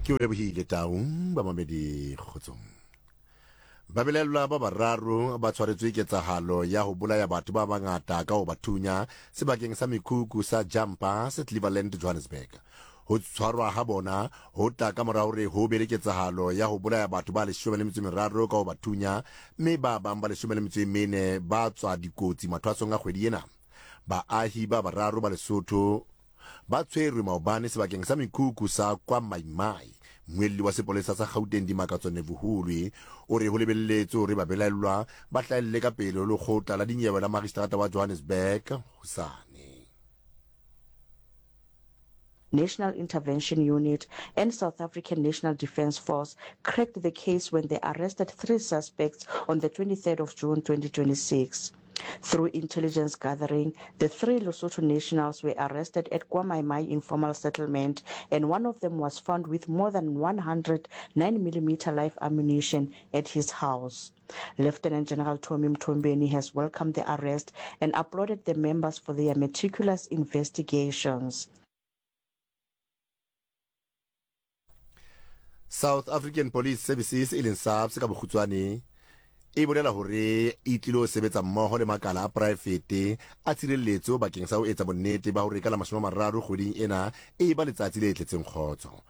Ke o lebohile Tau, bamamedi kgotsong. Babelaellwa ba bararo ba tshwaretswe ketsahalo ya ho bolaya batho ba bangata ka ho ba thunya sebakeng sa mekhukhu sa Jampa se Cleveland, Johannesburg. Ho tshwarwa ha bona ho tla ka mora hore ho be le ketsahalo ya ho bolaya batho ba 13 ka ho ba thunya mme ba bang ba 14 ba tswa dikotsi mathwasong a kgwedi ena. Baahi ba bararo ba Lesotho ba tshwerwe maobane sebakeng sa mekhukhu sa kwa Maimai. Mmuelli wa sepolesa sa Gauteng Dimakatso Nevuhulwi o re ho lebelletswe hore babelaellwa ba hlahelle ka pele ho lekgotla la dinyewe la magistrata wa Johannesburg hosane. National Intervention Unit and South African National Defence Force cracked the case when they arrested three suspects on the 23rd of June 2026. Through intelligence gathering, the three Lesotho nationals were arrested at KwaMaimai informal settlement and one of them was found with more than 100 9mm live ammunition at his house. Lieutenant General Tommy Mthombeni has welcomed the arrest and applauded the members for their meticulous investigations. South African Police Services e leng SAPS ka bokgutswane e bolela hore e tlilo sebetsa mmoho le makala a poraefete a tshireletso bakeng sa ho etsa bonnete ba hore ka la 30 kgweding ena e ba letsatsi le tletseng kgotso.